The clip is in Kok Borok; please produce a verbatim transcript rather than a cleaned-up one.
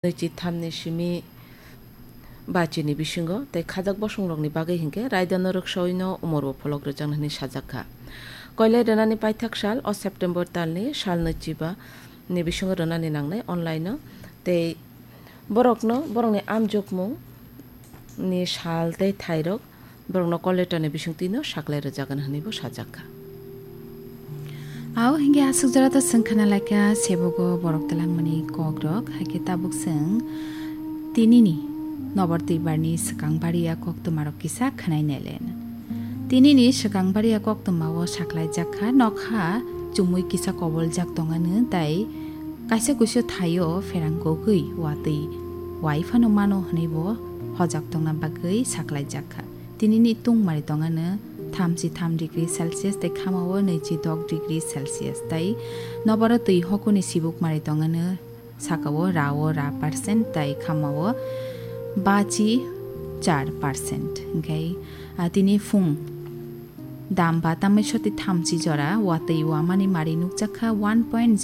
nwichi thamni simi bachini bisingo tei khajak bosongrokni bagwi hinkhe raidano rwksaui no umorbo pholok rwjaknai hwnwi sajak kha. Koilai rwnani paithak sal o September talni sal nwichiba ni bisingo rwnani nangnai online-o tei borokno borokni amjokmung ni sal tei thairok borokno call letter ni bisingtwi no saklai rwjagwna hwnwi bo sajak kha. Ao hinkhe aswk jora to chwng khna lai kha sebogo borok twlangmani kokrok, hai khe tabuk chwng tinini nobar twibarni swkang baria koktwmarok kisa khwnai nailen. Tinini swkang baria koktwmao saklaijak kha nokha chumui kisa koboljak tongano tei kaisa kuisu thaio pherang kogwi watwi wai phano mano hwnwi bo hojak tongna bagwi saklaijak kha. Tinini tungmari tongano thamchi tham degree Celsius tei khamao nwichi dok degree Celsius tei nobaro twi hokuni sibukmari tongano sakao rao ra percent tei khamao bachi char percent. Hinkhe, ah, tini phung dam ba tamai soti thamchi jora watwi wamani mari nukjak kha one point zero